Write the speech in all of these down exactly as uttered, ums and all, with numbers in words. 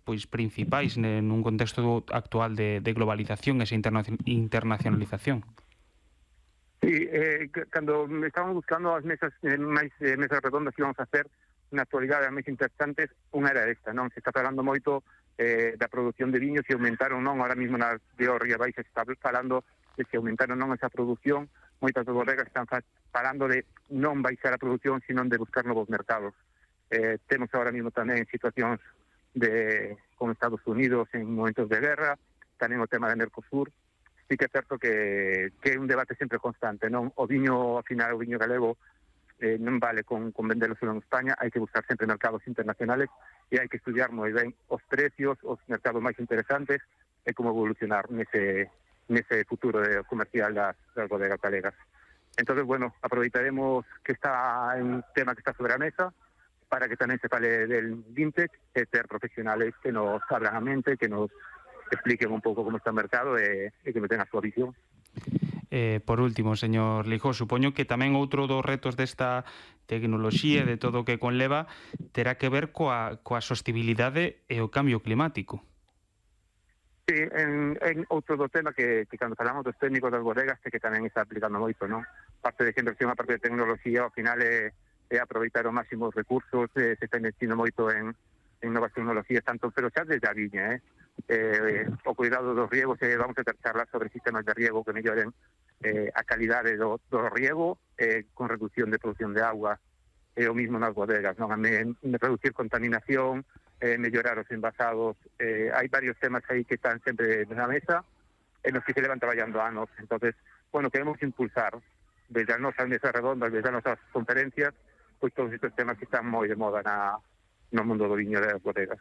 pois principais nun contexto actual de, de globalización e esa internacionalización. Sí, eh, cando estábamos buscando as mesas eh, máis eh, mesas redondas que íbamos a hacer na actualidade as máis interesantes, unha era esta, non? Se está falando moito eh, da produción de viños e aumentaron, non? Ahora mesmo na de Ría Baixa se está falando de se aumentaron non esa produción, moitas das bodegas están falando de non baixar a produción, sino de buscar novos mercados. Eh, temos ahora mesmo tamén situacións de con Estados Unidos en momentos de guerra, tamén o tema de Mercosur. Sí que é certo que, que é un debate sempre constante, non? O viño, ao final, o viño galego eh, non vale con, con venderlo solo en España, hai que buscar sempre mercados internacionales e hai que estudiar moi ben os precios, os mercados máis interesantes e como evolucionar nese, nese futuro de comercial das, das bodegas galegas. Entonces, bueno, aproveitaremos que está un tema que está sobre a mesa para que tamén se fale del vintage e ter profesionales que nos abran a mente, que nos expliquen un pouco como está o mercado e, e que me ten a súa visión. Eh, por último, señor Lijó, supoño que tamén outro dos retos desta tecnoloxía e de todo o que conleva terá que ver coa, coa sostibilidade e o cambio climático. Sí, en, en outro do tema que, que cando falamos dos técnicos das bodegas que tamén está aplicando moito, non? Parte de inversión, a parte de tecnoloxía, ao final é, é aproveitar os máximos recursos, eh, se está investindo moito en, en novas tecnologías, tanto pero xa desde a viña, eh? Eh, o cuidado dos riegos, eh, vamos a ter charlas sobre sistemas de riego que melloren eh, a calidade do, do riego eh, con reducción de produción de agua e eh, o mismo nas bodegas, non? A me, reducir contaminación, eh, mellorar os envasados, eh, hai varios temas aí que están sempre na mesa en los que se levan traballando anos. Entonces, bueno, queremos impulsar desde as nosas mesas redondas, desde as nosas conferencias, pois todos estes temas que están moi de moda na, no mundo do viño das bodegas.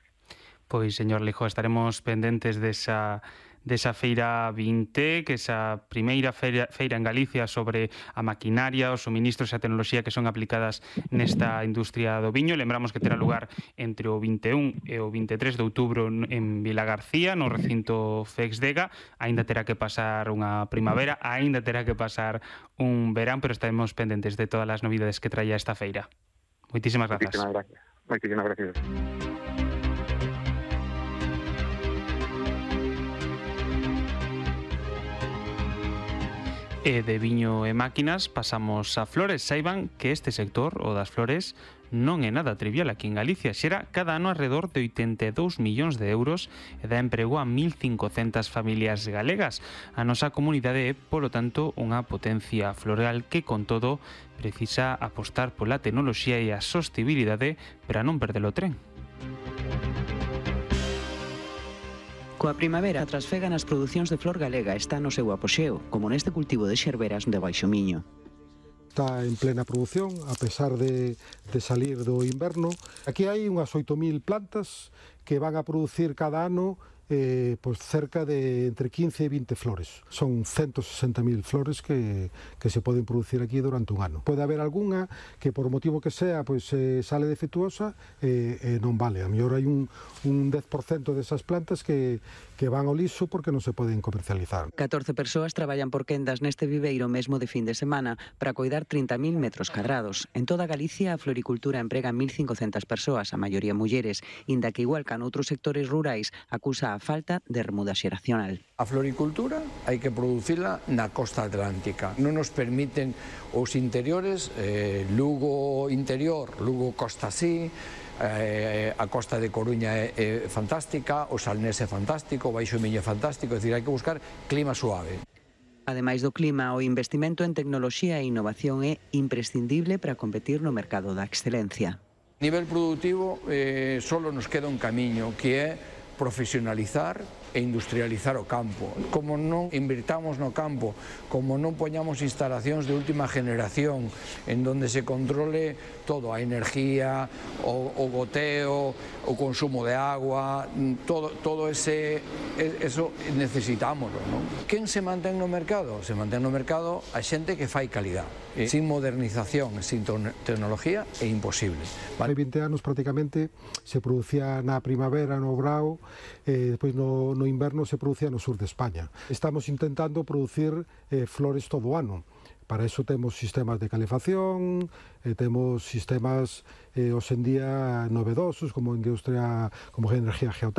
Pois, señor Lijó, estaremos pendentes desa, desa feira vinte, que esa primeira feira, feira en Galicia sobre a maquinaria, os suministros e a tecnoloxía que son aplicadas nesta industria do viño. Lembramos que terá lugar entre o vinte e un e o vinte e tres de outubro en Vilagarcía, no recinto Fexdega. Aínda terá que pasar unha primavera, aínda terá que pasar un verán, pero estaremos pendentes de todas as novidades que traia esta feira. Moitísimas grazas. Moitísimas gracias. Moitísimas gracias. E de viño e máquinas pasamos a flores. Saiban que este sector, o das flores, non é nada trivial aquí en Galicia. Xera cada ano alrededor de oitenta e dous millóns de euros e dá emprego a mil cincocentas familias galegas. A nosa comunidade é, polo tanto, unha potencia floral que, con todo, precisa apostar pola tecnoloxía e a sostibilidade para non perder o tren. Coa primavera trasfegan as producións de flor galega está no seu apoxeo, como neste cultivo de xerberas de Baixo Miño. Está en plena produción, a pesar de, de salir do inverno. Aquí hai unhas oito mil plantas que van a producir cada ano eh, pues cerca de entre quince e vinte flores. Son ciento sesenta mil flores que, que se poden producir aquí durante un ano. Pode haber algunha que por motivo que sea pues, eh, sale defectuosa e eh, eh, non vale. A mellor hai un, un dez por cento desas plantas que, que van ao liso porque non se poden comercializar. catorce persoas traballan por quendas neste viveiro mesmo de fin de semana para coidar trinta mil metros cadrados. En toda Galicia a floricultura emprega mil cincocentas persoas, a maioría mulleres, inda que igual que en outros sectores rurais acusa a falta de remuda xeracional. A floricultura hai que producila na costa atlántica. Non nos permiten os interiores, eh, Lugo interior, Lugo costa así, eh, a costa de Coruña é, é fantástica, o Salnés é fantástico, o Baixo Miño é fantástico, é dicir, hai que buscar clima suave. Ademais do clima, o investimento en tecnoloxía e innovación é imprescindible para competir no mercado da excelencia. A nivel productivo, eh, solo nos queda un camiño, que é profesionalizar e industrializar o campo. Como non invirtamos no campo, como non poñamos instalacións de última generación en donde se controle todo, a energía, o, o goteo, o consumo de agua, todo, todo ese, eso necesitámoslo, non? Quen se mantén no mercado? Se mantén no mercado a xente que fai calidad. E sin modernización, sin tecnología, é imposible. Hai vinte anos prácticamente se producía na primavera no Brao, e despois no, no inverno se producía no sur de España. Estamos intentando producir eh, flores todo o ano, para eso temos sistemas de calefacción, e temos sistemas eh, hoxe en día novedosos como industria, como energía geotérmica,